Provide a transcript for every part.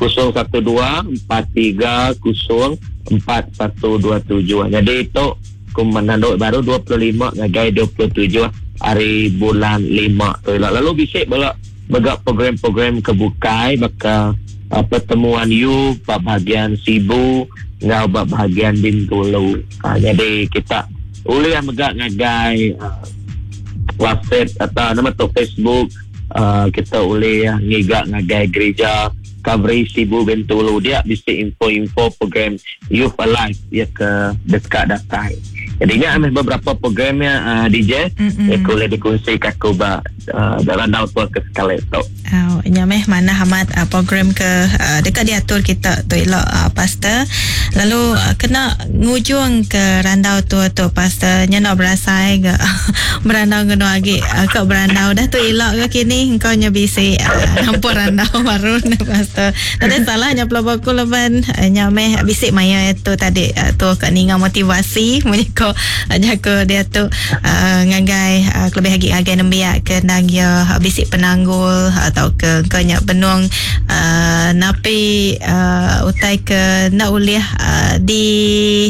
012 430 4127. Nyadi tu ku menandu baru 25 ngagai 27 hari bulan lima tu ila. Lalu bisi bala mega program-program ke bukai baka uh, pertemuan youth ba bahagian Sibu enggau ba bahagian Bintulu. Uh, jadi kita ulih mega ngagai uh, WhatsApp atau nama tu Facebook uh, kita ulih ngiga ngagai gereja Calvary Sibu Bintulu dia bisi info-info program Youth Alive ya ke dekat datai. Jadi nya meh beberapa programnya uh, DJ mm-hmm. ya boleh dikongsi ke aku ba uh, dalam randau tua ke sekali tu. Oh, nya meh manah amat uh, program ke uh, dekat diatur kita tu ila uh, pastor. Lalu uh, kena ngujung ke randau tua tu pastor nya nak berasai ke berandau ngeno agi uh, ke berandau dah tu ila ke kini engkau nya bisi uh, nampur randau baru ne pastor. Nadai salah nya pelaba aku laban uh, nya meh bisi maya tu tadi uh, tu ka ninga motivasi munyi ko uh, jaku dia tu uh, ngagai uh, kelebih agi ngagai nembiak ke endang iya bisi penanggul atau ke engkau nya benung uh, napi uh, utai ke enda ulih uh, di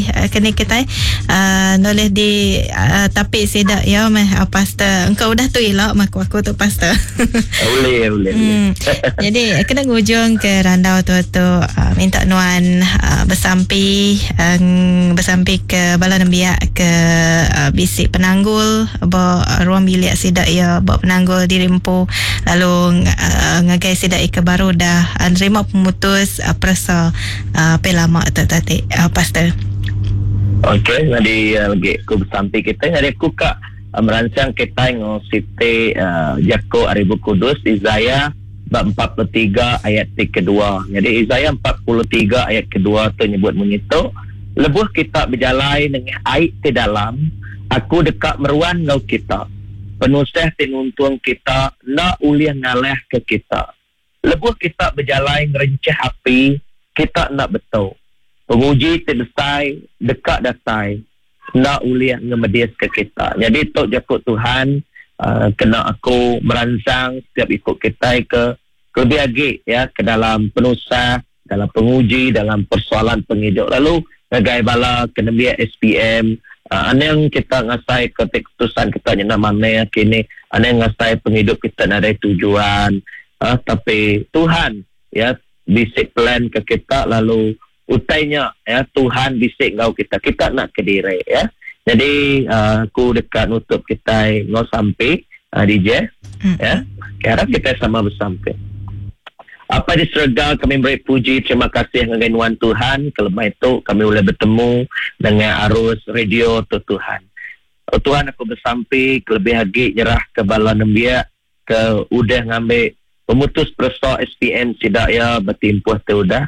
uh, keni kitai uh, enda ulih di uh, tapi sida ya meh uh, pastor engkau udah tu ila mah ku aku tu pastor Boleh, boleh. Jadi kena ngujung ke randau tu tu uh, minta nuan uh, bersampi uh, bersampi ke bala nembiak ke uh, bisi penanggul ba ruang bilik sida iya ba penanggul diri empu lalu uh, ngagai sida iya ke baru dah uh, nerima pemutus uh, peresa uh, pe lama tu tadi uh, pastor. Okey, jadi uh, lagi aku bersampi kita jadi aku kak uh, merancang kita ngau siti uh, jaku ari Bup Kudus Isaiah bab 43 ayat ti kedua. Jadi Isaiah 43 ayat kedua tu nyebut munyi tu, lebuh kita bejalai nengah ai ti dalam, aku deka meruan enggau kita. Penusah ti nuntung kita enda ulih ngalahka kita. Lebuh kita bejalai ngerencah api, kita enda betu. Penguji ti besai deka datai enda ulih ngemediska kita. Nyadi tu jaku Tuhan uh, kena aku meransang setiap iku kitai ke kelebih agi ya ke dalam penusah, dalam penguji, dalam persoalan pengidup. Lalu ngagai bala ke nembiak SPM, uh, anang kita ngasai ke keputusan kita nyena mana kini, anang ngasai penghidup kita nadai tujuan, uh, tapi Tuhan ya bisi plan ke kita lalu utainya ya Tuhan bisi enggau kita. Kita nak ke diri ya. Jadi uh, aku dekat nutup kita ngau sampai uh, DJ ya. Harap kita sama bersampai. Apa di serega kami beri puji terima kasih ngagai nuan Tuhan kelemai itu kami boleh bertemu dengan arus radio tu Tuhan. Oh, Tuhan aku bersampi kelebih lagi nyerah ke bala nembiak ke udah ngambil pemutus peresa SPM sidak ya bertimpuh tu udah.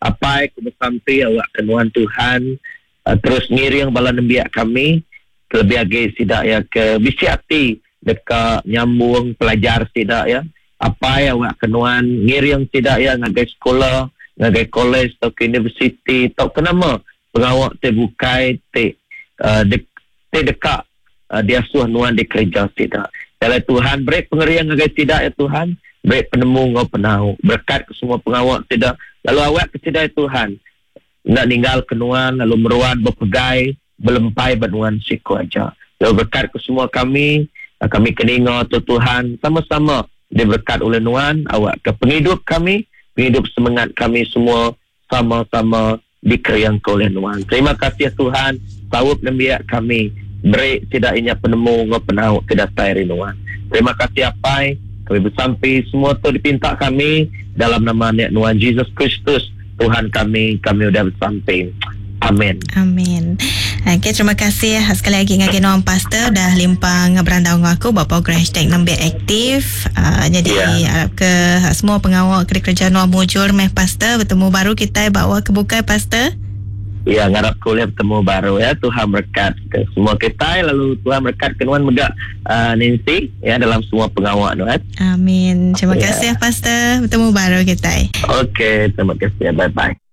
Apa aku bersampi awak ke nuan Tuhan uh, terus ngiring bala nembiak kami kelebih lagi sidak ya ke bisi hati dekat nyambung pelajar sidak ya. Apa ya awak kenuan ngiring sidak ya ngagai sekolah, ngagai college atau ke universiti atau ke nama pengawak te bukai te uh, de, te dekat uh, dia suah nuan di kerja sidak. Dalam Tuhan beri pengerian ngagai sidak ya Tuhan, beri penemu ngau penau, berkat ke semua pengawak sidak. Lalu awak ke sidak ya Tuhan, nak ninggal kenuan lalu meruan berpegai belempai bernuan siku aja. Lalu berkat ke semua kami, kami keninga tu Tuhan sama-sama diberkat oleh nuan awak ke penghidup kami, penghidup semangat kami semua sama-sama dikeriang ke oleh nuan. Terima kasih Tuhan, saup nembiak kami beri tidak inya penemu ngau penau tidak datai nuan. Terima kasih apai, kami bersampi semua tu dipinta kami dalam nama nek nuan Jesus Kristus Tuhan kami, kami udah bersampi. Amin. Amin. Okey, terima kasih sekali lagi ngagai nuan pastor dah limpang berandau dengan aku buat program hashtag nembiak aktif. Uh, jadi yeah. harap ke semua pengawal kerja nuan mujur meh pastor bertemu baru kita bawa ke bukai pastor. Ya, ngarap kuliah bertemu baru ya. Tuhan berkat ke semua kita lalu Tuhan berkat ke nuan mega uh, Nancy ya dalam semua pengawal nuan. Amin. Terima kasih pastor bertemu baru kita. Okey, terima kasih. Bye bye.